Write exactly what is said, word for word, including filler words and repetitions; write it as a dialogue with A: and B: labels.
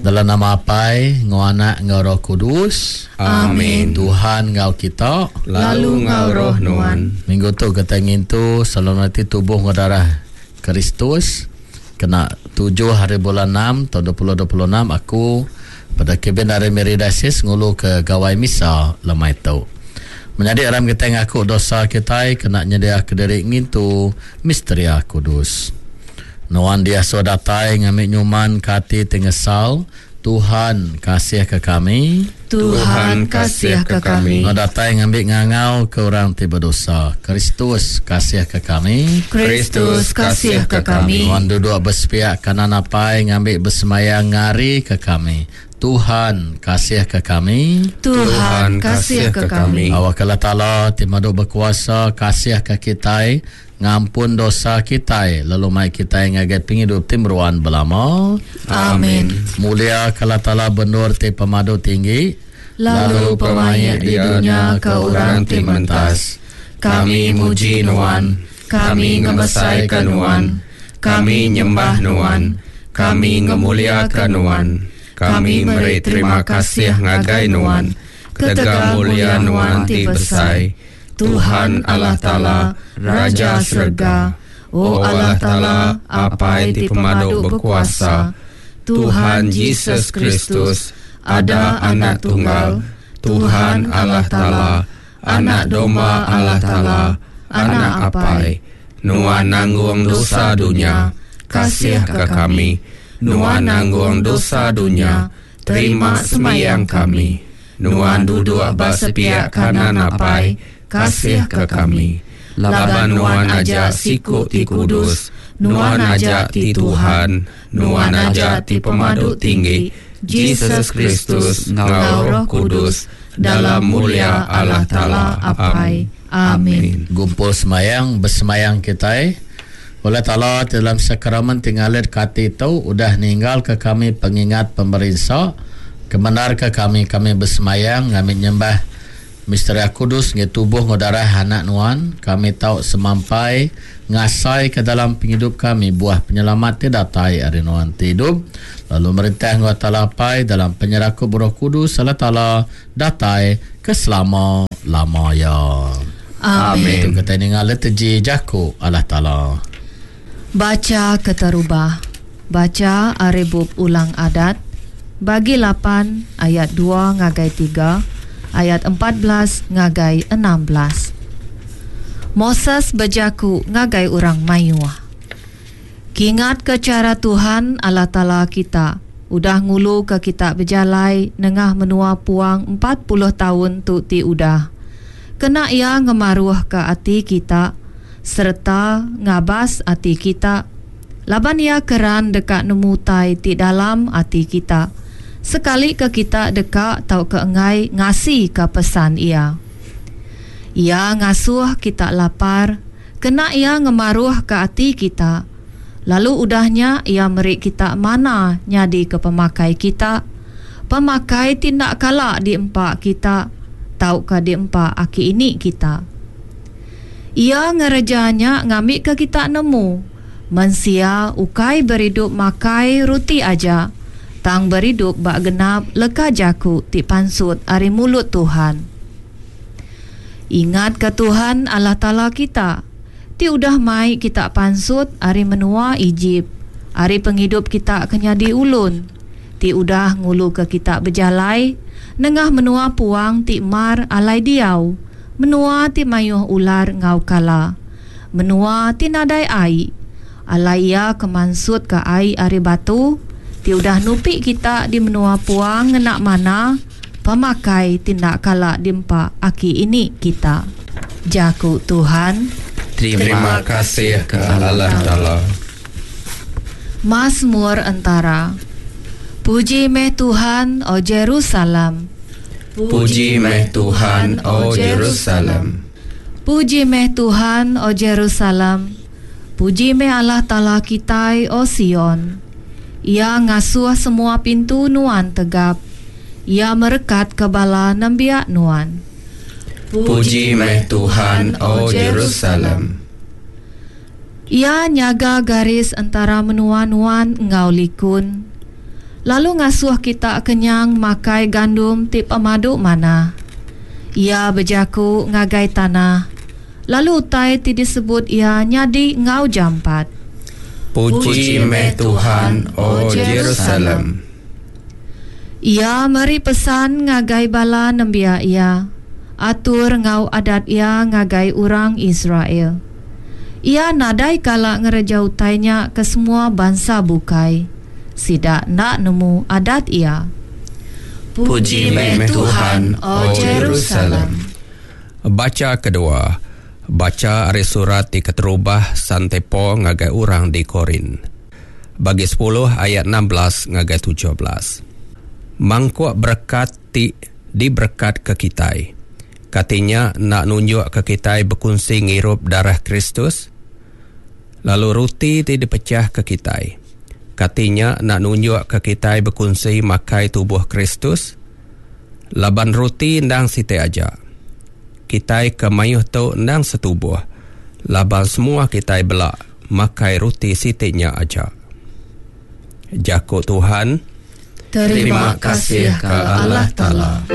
A: Dalam nama Apai, enggau Anak, enggau Roh Kudus.
B: Amin.
A: Tuhan enggau kita.
B: Lalu enggau roh nuan.
A: Minggu tu kita ngintu solemniti tubuh enggau darah Kristus. Kena tujuh hari bulan enam tahun dua ribu dua puluh enam aku pada kebin dari Miri Diocese ngulu ke Gawai Misa lemai tu. Menyadi aram kita ngaku dosa kita kena nyedia ke diri ngintu Misteria Kudus. Nuan dia so datai ngamik nyuman ke ati tingesal. Tuhan kasih ke kami.
B: Tuhan kasih ke kami.
A: Nuan datai ngambil ngangau ke orang ti berdosa. Kristus kasih ke kami.
B: Kristus kasih ke kami.
A: Nuan duduk bersepiak kanan apai ngambil bersemayang ngari ke kami. Tuhan kasih ke kami.
B: Tuhan kasih ke kami.
A: Awak Allah Ta'ala ti madu berkuasa kasih ke kita, ngampun dosa kita, lalu mai kita ngagai penghidup ti meruan belama.
B: Amin.
A: Mulia ke Allah Ta'ala benur ti pemadu tinggi,
B: lalu pemaik di dunia ke orang ti mentas. Kami muji nuan, kami ngemesaikan nuan, kami nyembah nuan, kami ngemuliakan nuan. Kami meri terima kasih ngagai nuan, ketegal mulia nuan ti besai. Tuhan Allah Ta'ala, Raja Serga, O Allah Ta'ala, Apai ti pemadu berkuasa, Tuhan Jesus Kristus, ada anak tunggal, Tuhan Allah Ta'ala, anak domba Allah Ta'ala, anak Apai, nuan nanggung dosa dunia, kasih ke kami. Nuan nanggung dosa dunia, terima semayang kami. Nuan duduk bersepiak kanan Apai, kasih ke kami. Laban nuan aja siku ti kudus, nuan aja ti Tuhan, nuan aja ti pemadu tinggi, Jesus Kristus enggau Roh Kudus, dalam mulia Allah Ta'ala Apai.
A: Amin. Gumpul semayang, bersemayang kita. Oleh Ta'ala dalam sakramen tinggalit kati itu udah ninggal ke kami pengingat pemerinsa, kebenar ke kami kami bersemayang kami nyembah Misteri Kudus ngi tubuh enggau darah anak nuan, kami tau semampai ngasai ke dalam penghidup kami buah penyelamat ti datai ari nuan ti hidup lalu merintah enggau Ta'ala Apai dalam penyerakup Roh Kudus Allah Ta'ala datai ke selama-lama ya.
B: Amin.
A: Itu kita ningal liturgi jaku Allah Ta'ala.
C: Baca keterubah. Baca Aribub Ulang Adat bagi lapan ayat dua ngagai tiga, ayat empat belas ngagai enam belas. Moses berjaku ngagai orang mayuh. Kingat ke cara Tuhan Allah Ta'ala kita udah ngulu ke kita berjalai nengah menua puang empat puluh tahun tu ti udah. Kena ia ngemaruh ke ati kita serta ngabas ati kita, laban ia keran dekat nemu tai ti dalam ati kita, sekali ke kita dekat tau ke engai ngasi ke pesan ia. Ia ngasuh kita lapar, kena ia ngemaruh ke ati kita, lalu udahnya ia meri kita mana nyadi ke pemakai kita, pemakai tindak kala di empak kita, tau ke di empak aki ini kita. Ia ngerejanya ngambil ke kita nemu mensia ukai beridup makai ruti aja, tang beridup bak genap leka jaku ti pansut ari mulut Tuhan. Ingat ke Tuhan Allah Ta'ala kita ti udah mai kita pansut ari menua Egypt, ari penghidup kita kenyadi ulun, ti udah ngulu ke kita berjalai nengah menua puang ti mar alai diau, menua ti mayuh ular ngau kala, menua ti nadai ai, alai ia kemansut ke ai ari batu, ti udah nupi kita di menua puang ngenak mana pemakai tindak kala dimpa aki ini kita. Jaku Tuhan.
B: Terima kasih ke Allah Ta'ala.
C: Mazmur Entara. Puji meh Tuhan, O Jerusalem.
B: Puji meh Tuhan, O Jerusalem.
C: Puji meh Tuhan, O Jerusalem. Puji meh Allah Ta'ala kitai, O Sion. Ia ngasuh semua pintu nuan tegap. Ia merekat ke bala nembiak nuan.
B: Puji meh Tuhan, O Jerusalem.
C: Ia nyaga garis antara menua nuan enggau likun. lalu ngasuh kita kenyang makai gandum ti pemadu manah. Iya bejaku ngagai tanah, lalu utai ti disebut Iya nyadi enggau jampat.
B: Puji meh Tuhan, O Jerusalem.
C: Iya meri pesan ngagai bala nembiak Iya, atur enggau adat Iya ngagai orang Israel. Iya nadai kala ngereja utai nya ke semua bansa bukai. Sida enda nemu adat Iya.
B: Puji meh Tuhan, O Jerusalem.
D: Bacha kedua. Bacha ari surat ti keterubah Sante Paul ngagai orang di Korint. Bagi sepuluh ayat enam belas ngagai tujuh belas. Mangkuk berekat ti diberekat ke kitai. Katinya nak nunjuk ke kitai berkongsi ngirup darah Kristus. Lalu roti ti dipecah ke kitai. Katinya nak nunjuk ke kitai berkongsi makai tubuh Kristus. Laban roti endang siti aja. Kitai ke mayuh tu endang setubuh. Laban semua kitai belak makai roti siti nya aja. Jaku Tuhan.
B: Terima kasih ke Allah Ta'ala.